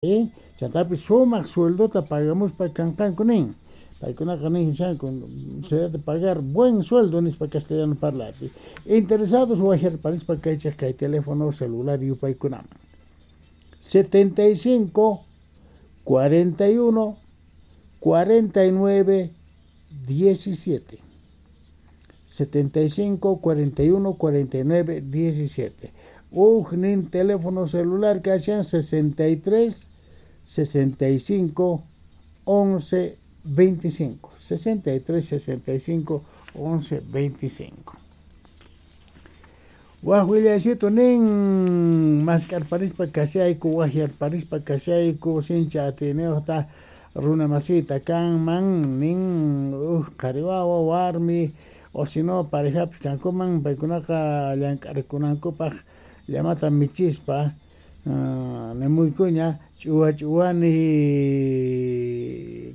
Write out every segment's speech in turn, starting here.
Chantapis sumaq sueldota pagamuspa kanqanku nin. Paykunaqa nishanku se debe pagar buen sueldo nispa castellano parlapi. Interesados wajyarparispa kaychej kay teléfono celular yupaykunaman. 75 41 49 17. 75 41 49 17. Ujnin teléfono celular kashan 63 65 11 25. 63 65 11 25. Waj willaysitu nin mask'arparispa kashayku, wajyarparispa kashayku, sincha atiyniyuqta runa masita kanman nin uj qhari wawa, warmi, o si no parejapis kankuman, paykunaqa llank'arikunankupaq llamata michispa nimuykuña ch'uwa ch'uwani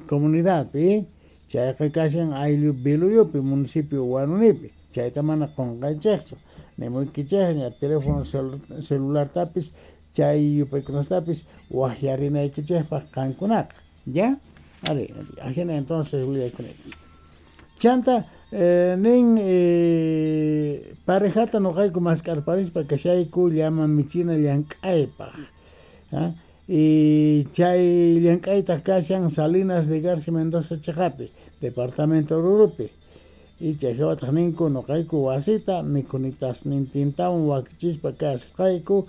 comunidadpi, chayqa kashan ayllu Biluyupi, municipio Huanunipi, chayta mana qunqanchikchu, nimuykichikña teléfono celulartapis chay yupaykunastapis wajyarinaykichikpaq qankunaqa, ¿ya? Ari, ajina entonces willaykunaykichik. Chanta nin parejata noqayku mask'arparispa kashayku llama michina llank'aypaq. Y chay llank'aytaq kashan Salinas de Garci Mendoza chiqapi, departamento Oruropi. Y chay hawataq ninku noqayku wasita mikhunitasnintintawan wakichispa kasqayku,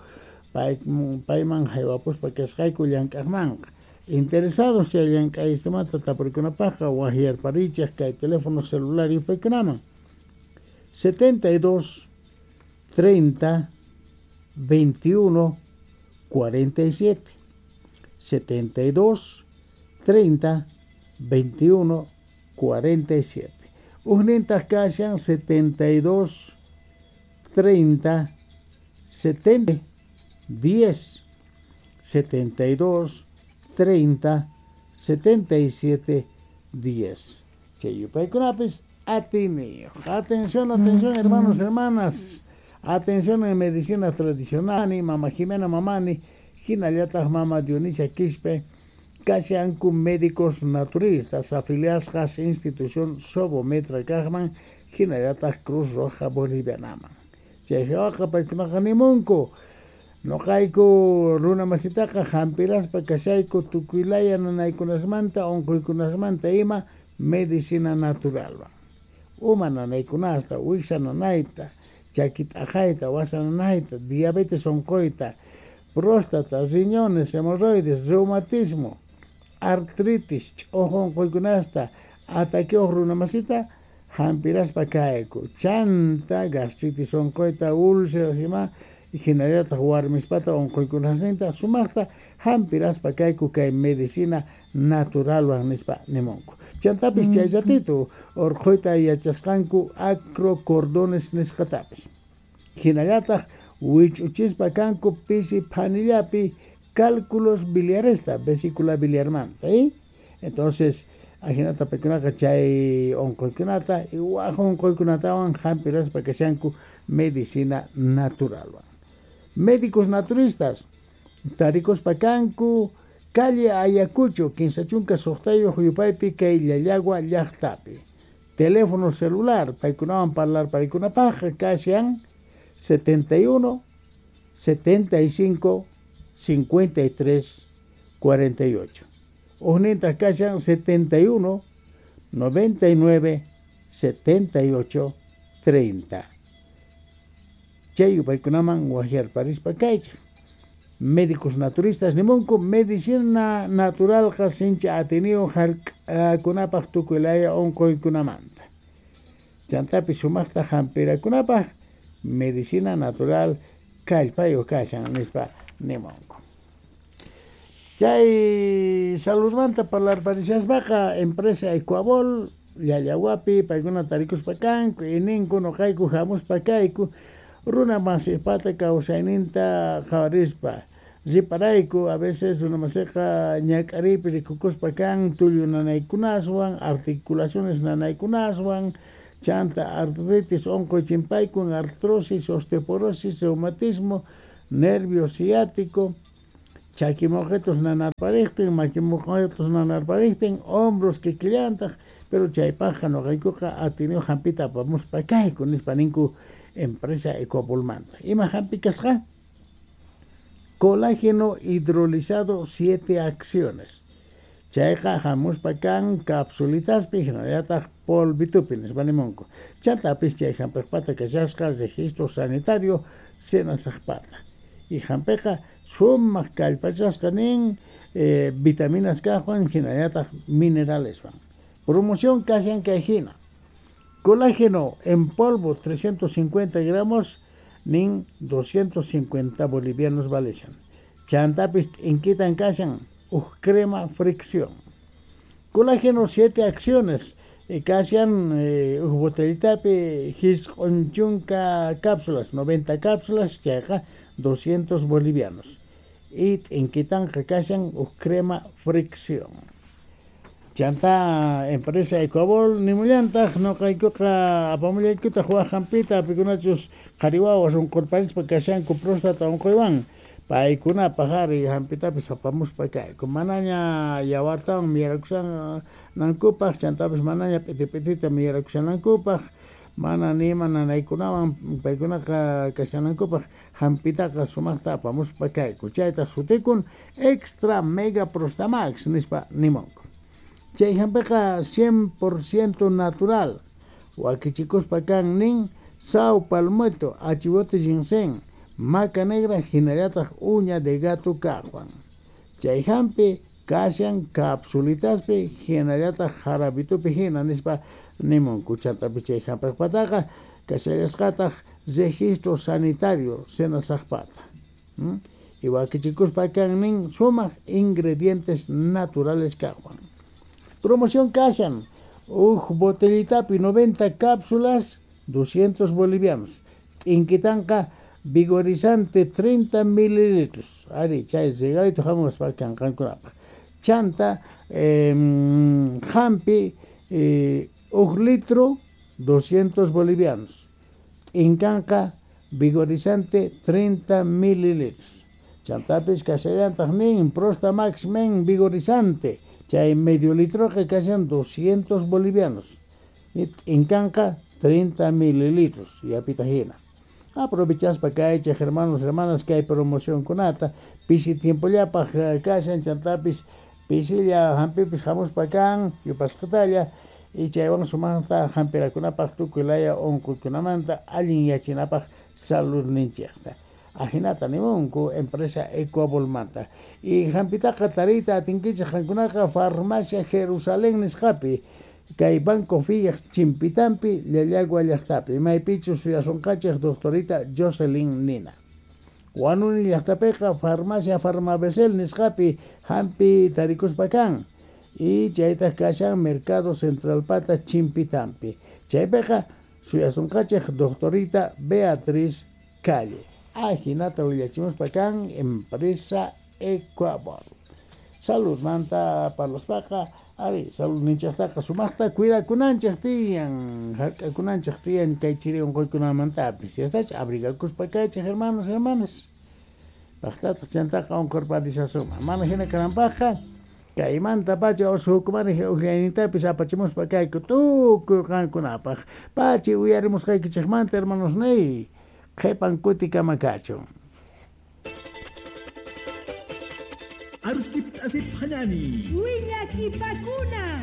payman haywapuspa kasqayku llank'aqmanqa. Interesados chay llank'aystumanta tapurikunapaqqa wajyarparichej kay teléfono celular yupaykunaman. 72 30 21 47. 72 30 21 47. Ujnintaq kashan 72 30 70 10. 72 30 77 10. Chay yupaykunapis atiniyuq. Atención, atención, hermanos, hermanas. Atención en medicina tradicional, Mama Jimena Mamani, hinallataq Mama Dionisia Quispe, kashanku médicos naturistas afiliadas institución Sobometra kaqman, hinallataq Cruz Roja Bolivianaman. Chay hawaqa paykunaqa nimunku, noqayku runa masitaqa hampiraspa kashayku tukuylaya nanaykunasmanta, unquykunasmanta ima medicina naturalwan. Uma nanaykunasta, wiksa nanayta, chaki t'aqayta, wasa nanayta, diabetes unquyta, próstata, riñones, hemorroides, reumatismo, artritis, ch'uju unquykunasta, ataqueoj runa masita hampiraspa kayku. Chanta gastritis unquyta, úlceras ima, hinallataq warmispata unquykunasninta sumaqta hampiraspa kayku kay medicina naturalwan nispa nimunku. Chantapis chay ratito urqhuyta yachasqanku acrocordones nisqatapis. Hinallataq wich'uchispa kanku pisi phanillapi cálculos biliaresta, vesícula biliarmanta, ¿eh? Entonces, ajinata paykunaqa chay unquykunata y waj unquykunatawan hampiraspa kashanku medicina naturalwan. Médicos naturistas tarikuspa kanku calle Ayacucho, 56 yupaypi kay Llallagua llaqtapi. Teléfono celular, paykunawan parlar paykunapaq kashan 71 75 53 48. Ujnintaq kashan 71 99 78 30. Chay yupaykunaman wajyarparispa kaychik. Médicos naturistas nimunku medicina naturalqa sincha atiniyuq hark'akunapaq tukuylaya unquykunamanta. Chantapis sumaqta hampirakunapaq medicina natural kallpayuq kashan nispa nimunku. Chay saludmanta parlarparishaspaqa empresa Ecuabol Llallawapi paykuna tarikuspa kanku y ninku noqayku hamuspa kayku runa masipata kawsayninta qhawarispa riparayku a veces runa masiqa ñak'ariypi rikukuspa kan tullu nanaykunaswan, articulaciones nanaykunaswan, chanta artritis unquy chimpaykun, artrosis, osteoporosis, reumatismo, nervio ciático, Chaki moqetos nanarparejtin, maki moqetos nanarparejtin, hombros kikillantaj, pero chaypajqa noqaykuqa atiniyoj hampita apamuspa kayku nispa ninku empresa Ecuabolmanta. Ima hampi kasqa? Colágeno hidrolizado 7 acciones. Chayqa hamuspa kan capsulitaspi hinallataq polvitupi nispa nimunku. Chantapis chay hampejpata kashasqa registro sanitario senasajpata. Y hampeqa sumaq kallpachasqa nin vitaminas kaqwan hinallataq mineraleswan. Promoción kashan kay hina. Colágeno en polvo 350 gramos nin 250 bolivianos valeshan. Chantapis t'inkitan kashan uj crema fricción. Colágeno 7 acciones kashan uj botellitapi jisq'un chunka cápsulas, 90 cápsulas, chayqa 200 bolivianos. Y t'inkitanqa kashan uj crema fricción. Chanta empresa Ecuabol nimullantaq noqaykuqa apamullaykutaq waj hampita pikunachus qhari wawas unqurparispa kashanku próstata unquywan paykunapaq ari hampitapis apamuspa kayku manaña yawartawan miyarakushanankupaq chantapis manaña p'iti p'itita miyarakushanankupaq mana nima nanaykunawan paykunaqa kashanankupaq hampitaqa sumaqta apamuspa kayku chayta sutikun Extra Mega Prostamax nispa nimunku. Chay hampiqa 100% natural. Wakichikuspa kan nin sao palmetto, achivote ginseng, maca negra hinallataq uña de gato kaqwan. Chay hampi kashan capsulitaspi hinallataq jarabitupi hina nispa nimunku. Chantapi chay hampejpataqa kashallasqataq registro sanitario senasajpata. Y wakichikuspa kan nin sumaq ingredientes naturales kaqwan. Promoción kashan, uj botellitapi 90 cápsulas, 200 bolivianos. T'inkitanqa vigorizante 30 mililitros. Ari, chay regalito hamuspa kanqankunapaq. Chanta, hampi, uj litro, 200 bolivianos. T'inkanqa vigorizante 30 mililitros. Chantapis kashallantaq nin, Prostamax men vigorizante. Chay medio litro que kashan 200 bolivianos. Y t'inkanqa 30 mililitros. Y apita hina. Aprovechaspa kaychej hermanos, hermanas, kay promoción kunata. Pisi tiempollapaj kashan chantapis pisilla hampipis hamuspa kan yupasqatalla. Y chaywan sumaqta hampirakunapaj tukuy laya unquykunamanta allin yachinapaj saludninchikta. Ajinata nimunku empresa Ecuabolmanta. Y hampitaqa tariyta atinkichej qankunaqa farmacia Jerusalén nisqapi kay Banco Fillaj chimpitampi Llallagua llaqtapi maypichus suyasunqachej doctorita Jocelyn Nina. Huanuni llaqtapiqa farmacia Farmabesel nisqapi hampi tarikuspa kan. Y chaytaq kashan Mercado Centralpata chimpitampi. Chaypiqa suyasunqachej doctorita Beatriz Calle. Ajinata willachimuspa kan empresa Ecuabol. Salud manta parlaspaqa ari salud ninchaqtaqa sumaqta cuidakunanchik tiyan, hark'akunanchik tiyan kay chiri unquykunamantapis. Yastach abrigakuspa kaychik hermanos, hermanas. Paqtataq chantaqa unqurparishasunman. Mana hina kananpaqqa kaymanta pacha usukumani uqllaynintapis apachimuspa kayku tukuy qankunapaq. Pachi uyarimusqaykichikmanta hermanos niy. Qhipan kutikama kachun. Aruskip asip hanani. Willakipakuna.